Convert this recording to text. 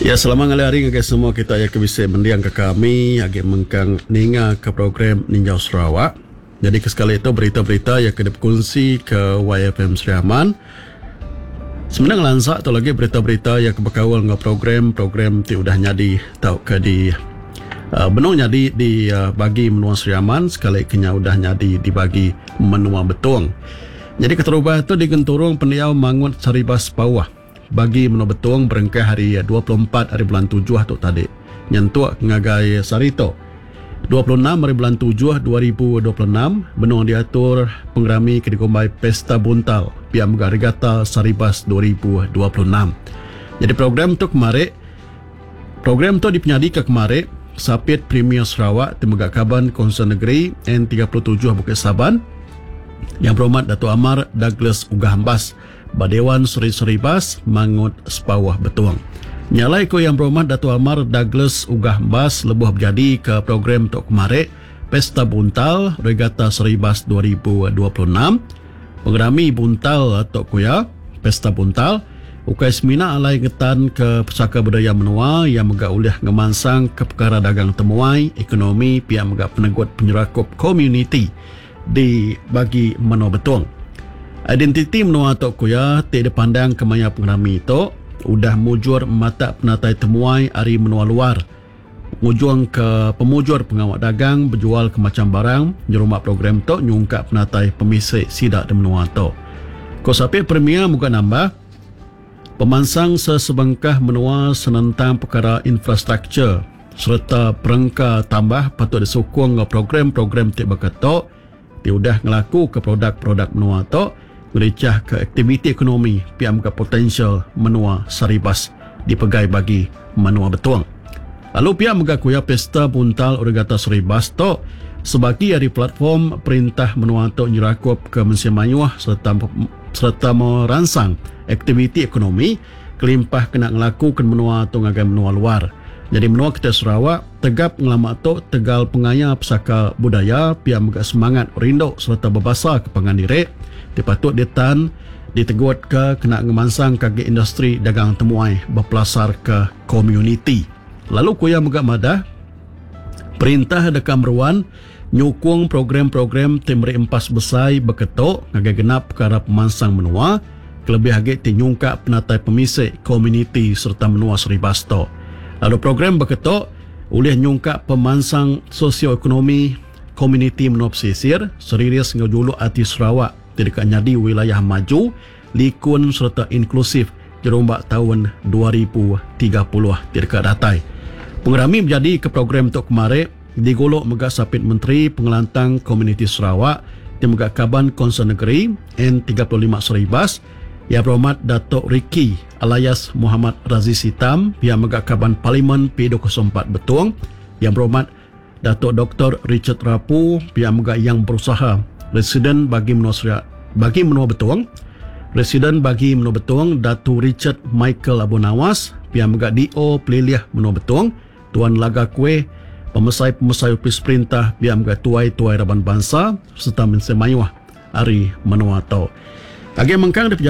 Ya selamat ngalih hari ngagai semua kita iya ke bisi mending ke kami agi mengkang ninga ke program Ninjau Sarawak. Nyadi ke sekali tu berita-berita iya ke dipekunsi ke YFM Sri Aman. Semina ngelansa tu lagi berita-berita iya ke bekaul enggau program-program ti udah nyadi tauka di uh, benung nyadi di uh, bagi menua Sri Aman sekali ke nya udah nyadi di bagi menua Betong. Nyadi keterubah tu di genturung pendiau Mangut Saribas Pauh. Bagi menua Betong berengkah ari 24 ari bulan tujuh tu tadi nyentuk ngagai sehari tu, 26 ari bulan tujuh 2026, benung diatur pengerami ke dikumbai Pesta Buntal pia mega Regata Saribas 2026. Nyadi program tu kemari program tu dipenyadika kemari Sapit Premier Sarawak ti mega Kaban Kaunsil Negeri N37 Bukit Saban Yang Berhormat Datuk Amar Douglas Uggah Embas Ba Dewan Seri Seribas, Mangut, Sepauh, Betong. Nya alai ku Yang Berhormat Datuk Amar Douglas Uggah Embas lebuh bejadika program tu kemari, Pesta Buntal Regata Seribas 2026. Pengerami Buntal tu ku iya, Pesta Buntal, ukai semina alai ngetanka pesaka budaya menua iya mega ulih ngemansangka pekara dagang temuai, ekonomi pia mega penegut penyerakup komuniti. Di bagi menua Betong. Identiti menua tu ku iya ti dipandangka maya pengerami tu udah mujur matak penatai temuai ari menua luar ngujungka pemujur pengawa dagang bejualka macham barang nyerumba program tu nyungkak penatai pemisi sida di menua tu. Ku Sapit Premier mega nambah, pemansang sesebengkah menua senentang pekara infrastruktur, sereta perengka tambah patut disukung enggau program-program ti baka tu ti udah ngelakuka produk-produk menua tu ngerichahka aktiviti ekonomi pia mega potensial menua Saribas dipegai bagi menua Betong. Lalu pia mega ku iya Pesta Buntal Regata Saribas tu sebagi ari platform perintah menua tu nyerakupka mensia mayuh sereta sereta meransang aktiviti ekonomi kelimpah kena ngelakuka menua tu ngagai menua luar. Nyadi menua kitai Sarawak tegap ngelama tu tegal pengaya pesaka budaya pia mega semangat rindu sereta bebasa ke pangan diri ti patut ditan ditegutka kena ngemansangka agi industri dagang temuai bepelasarka komuniti. Lalu ku iya mega madah, perintah deka meruan nyukung program-program ti meri empas besai baka tu ngagai genap pekara pemansang menua kelebih agi ti nyungkak penatai pemisi komuniti sereta menua Seribas tu. Lalu program baka tu ulih nyungkak pemansang sosioekonomi komuniti menua pesisir seriris enggau juluk ati Sarawak ti deka nyadi wilayah maju, likun sereta inklusif nyerumba taun 2030 ti deka datai. Pengerami bejadika program tu kemari digulu mega Sapit Menteri Pengelantang Komuniti Sarawak ti mega Kaban Kaunsil Negeri N 35 Seribas, Yang Berhormat Datuk Ricky Alias Mohamad Razi Sitam pia mega Kaban Parlimen P 24 Betong, Yang Berhormat Datuk Doktor Richard Rapu pia mega Yang Berusaha Residen Bagi Menua Seria Bagi Menua Betong, Residen Bagi Menua Betong Datu Richard Michael Abu Nawas pia mega DO Pelilih Menua Betong, Tuan Laga Kueh, pemesai-pemesai opis perintah pia mega tuai-tuai raban bansa sereta mensia mayuh ari menua tu. Agi mengkang dipejalai.